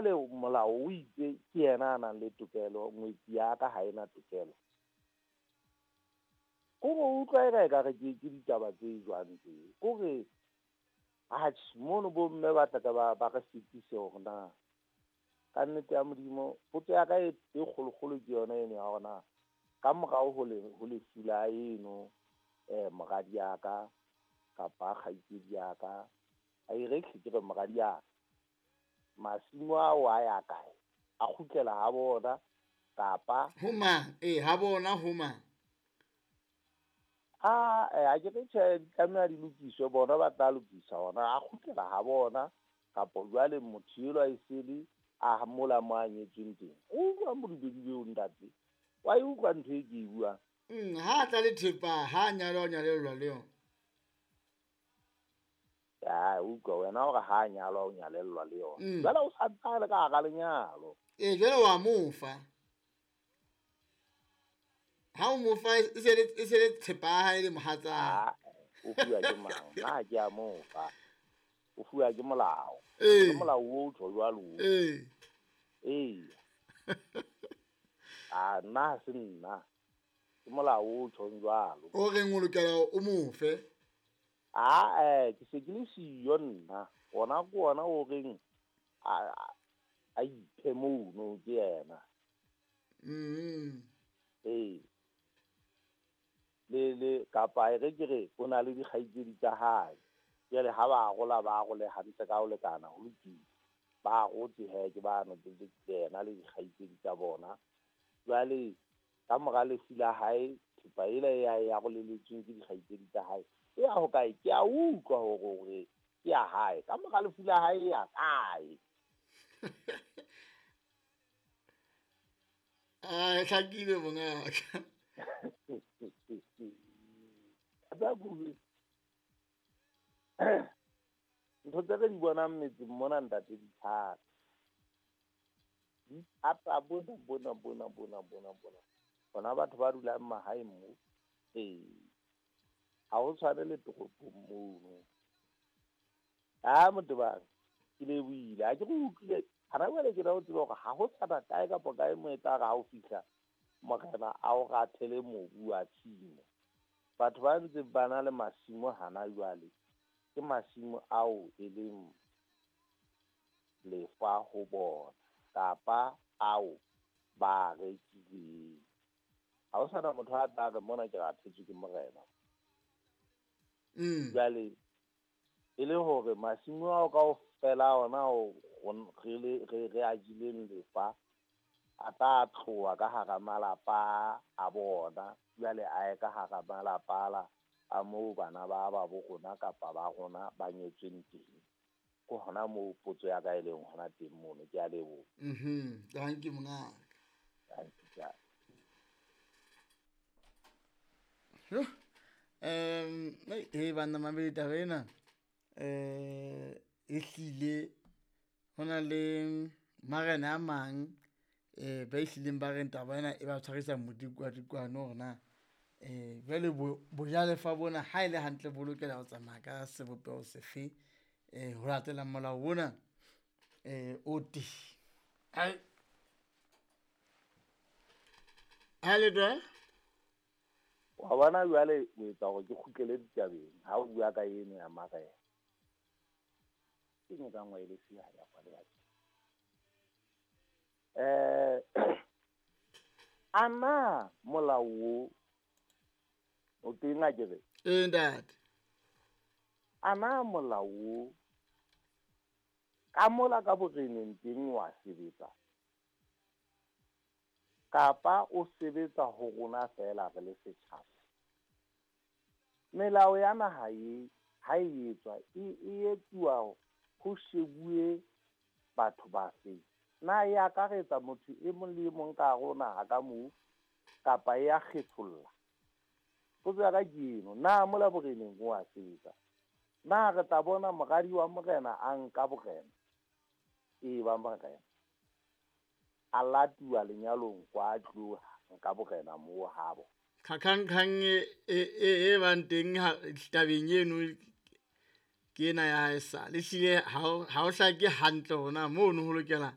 Molao o itse ke yena a nang le tokelo, ngwetsi ya ka ha ena tokelo. Kore o utlwa eka ekare ke ditaba tse jwang tse. Kore atjhe mono bo mme ba tla ba re fetise hore na ka nnete ya Modimo potso ya ka e kgolokgolo ke yona eno ya hore na ka morao ho lefu la eno moradi ya ka kapa kgaitsedi ya ka, a e re ke re moradi ya ka, masimo ao a ya kae? A kgutlela ha bona kapa ho mang? Ha bona ho mang? A ke re tjhe, di tlameha di lokiswe, bona ba tla lokisa ona, a kgutlela ha bona kapa jwale motho elwa e sele a mola mo a nyetsweng teng. O utlwa modubedi eo ntate? Wa e utlwa ntho e ke e buang? Ha tla le thepa, ha nyalwa o nyalellwa le yona. Ya utlwa wena hore ha nyalwa o nyalellwa le yona. Jwale o sa ntse le ka hara lenyalo. Jwale wa mo fa. Ha o mo fa e se le thepa ya hae le mohatsa. O fuwa ke mang? Nna ke a mo fa. O fuwa ke molao. Ke molao o tjho jwalo. Nna ha se nna. Ke molao o tjhong jwalo. O reng o lokela o mo fe? Ke se ke le siyo nna. Ona ke ona o reng a iphe mono ke yena. Le kapa e re ke re o na le dikgaitsedi tsa hae. Jwale ha ba arola ba arole hantle ka ho lekana, ho lokile. Ba arotse he ke ba no ke yena le dikgaitsedi tsa bona. Jwale ka mora lefu la hae thepa ela e ya aroleletsweng ke dikgaitsedi tsa hae e ya hokae? Ke a utlwa hore ke ya hae. Ka mora lefu la hae e ya kae? Hlakile mongaka. Ntho tse re di bonang metseng mona ntate di thata. Di thata bona bona bona bona bona bona. Bona batho ba dulang mahaeng mo. Ha ho tshwane le toropong mono. Motebang ke lebohile. Ha ke re utlwile hana jwale ke na o tseba hore ha ho sana kae kapa kae mo e tla re ha o fihla morena a o rathele mobu wa tshimo. Batho ba ntse ba na le masimo hana jwale ke masimo ao e leng lefa ho bona kapa ao ba rekileng. Ha ho sana motho a tla re mona ke rathetswe ke morena. Jwale e le hore masimo ao kaofela ona o re a jeleng lefa a tla tloha ka hara malapa a bona, jwale a ye ka hara malapa la a moo bana ba ba bo rona kapa ba rona ba nyetsweng teng. Ke hona moo potso ya ka e leng hona teng mono. Ke a leboha. Thank you mongaka. Thank you. Banna mamedi taba ena e hlile hona le marena a mang ba ehlileng ba reng taba ena e ba tshwarisa modikwadikwane hore na jwale bojalefa bona ha e le hantle bo lokela ho tsamaya ka sebopeho sefe ho latela molao ona o teng. Ha le twa? Wa bona jwale o etsa hore ke kgutlele ditabeng ha o bua ka eno ya marena. Ke nka ngwe le siya ya kwale ya. Ana molao o teng a kere? Ntate. Ana molao ka mola ka boreneng teng wa sebetsa kapa o sebetsa ho rona fela re le setjhaba? Melao ya naha e ha e etswa e etsuwa ho shebuwe batho bafe? Na e akaretsa motho e mong le e mong ka hare ho naha ka moo kapa e a kgetholla? Potso ya ka ke eno, na mola boreneng o a sebetsa? Na re tla bona moradi wa morena a nka borena e ba morena a latuwa lenyalong kwa tloha nka borena moo habo? Kgakgankgang e bang teng tabeng eno ke ena ya haesale. Ehlile ha o hlake hantle hore na mono ho lokela